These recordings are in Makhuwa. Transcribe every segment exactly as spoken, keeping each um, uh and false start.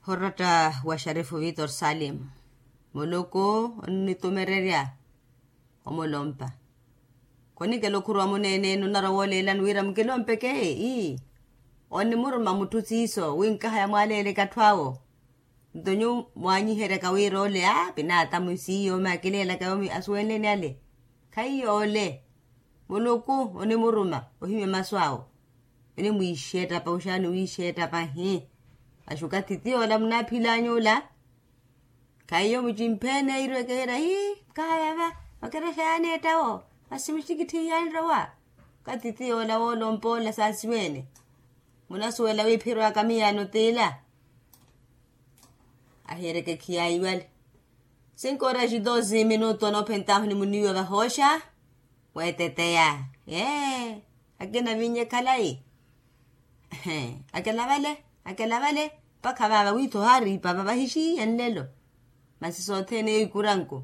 Oratta wa xarifu vitor salim, muluku onnitumererya omulompa. Khonikela okhuruwa muneene-ene onarwa wooleelani wira mukilompeke ii. Onnimuruma mutthu siiso wi nkahaya mwaaleeleke atthu awo. Nto nyuwo mwaanyiheryaka wira ole a pinaata mwisiiyo makileelaka yomi asuwenleni ale. Khaiyo ole. Muluku onimuruma ohimya masu awo. Onimwiixa ettapa oxaani wiixa ettapa hi. Axuka titi ola munaaphilanya ola. Khaiyo mucimphene iirwekeherya hi. Kahaya va. Vakeraxayani ettawo. Masi muxikitthi iyanrowa. Ka titi ola woolompa ola saasiwene. Munasuwela wiiphirwaka miyaano t'ila. Ahiyerekekhiya iwale. Sinkoora xitosi minutu anoophentahu ni muniiwa vahooxa. Weeteteya ee. Akina vinye khalayi. Akelavale. Akelavale. Mpakha vaava wiitho ohaari ipapa vahixiya nlelo. Masi sothene eyo ikuranku.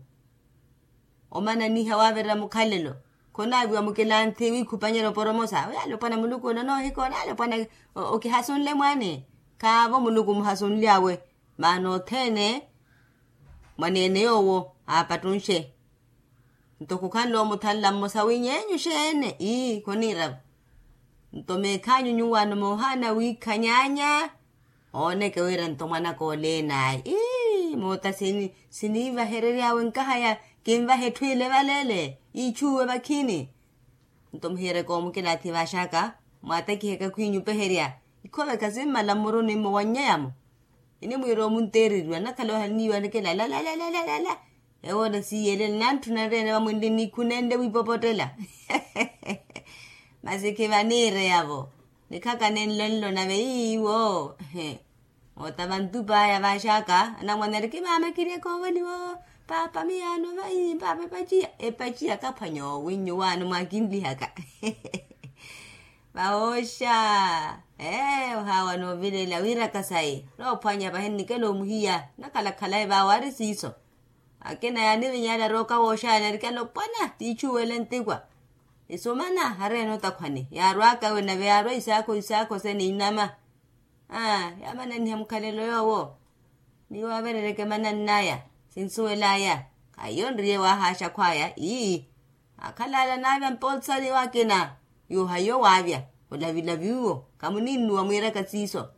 Omananiha waavirira mukhalelo. Khonaaviwa mukilanthi wiikhupanyela oporomosa yaale opwana muluku onoohikoona yaale opwana. Okihasunle mwaani. Khaavo muluku omuhasunly'awe. Maana othene mwaneene yoowo aapattunxe. Nto khukhanle omuthanla mmosa wi nyeenyu xeene ii khoniiravo. Nto meekhaanyu nyuwaano moohaana wiikhanyaanya. Ooneke wira nto mwanaka oleenayi ii moota siniivaherery'awe nkahaya. Kinvahe etthu ile valeele iichuuwe vakhini. Nto muhiyeryeke omukilaathi vaaxaka mwaatakiheke khwiinyu opeherya. Ikhooveka simmala mmuruni mmo wannyeyamo. Inimwiira omunteereriwa nakhala ohanniiwa nikilala. Ewoona siiyelela nantthuna nreene vamwinli nikhunenle wiipopottela. Masi khivaniireyavo. Nikhaka nenlo nlo nave iiwo. Moota vantup'aya vaaxaka anamwane ari kimaama kiri ekoovoliwa. Paapa miyaano vai paapa epaciya epaciya kaphwanya owinnyu waano mwakinlihaka. Vahooxa. Ee ohaawa noovilela wiiraka sayi noophwanya vahi nnikela omuhiya nakhala khalayi vaawo ari siiso. Akina yaanivinyala rooka wooxaana erikela opwana tiichuwele ntikwa. Isumana hareene otakhwani yaarwaka ewe nave yaarwa isaakho isaakho se niinama. Aa yaamananiha mukhalelo yoowo. Miyo averereke manann'aya sinsuwel'aya. Khaiyo nriye waahaaxa khw'aya ii. Akhalala naavya mpotsani waakina. Yuuha iyo waavya olavilavi uwo khamuninnuwa mwiiraka siiso.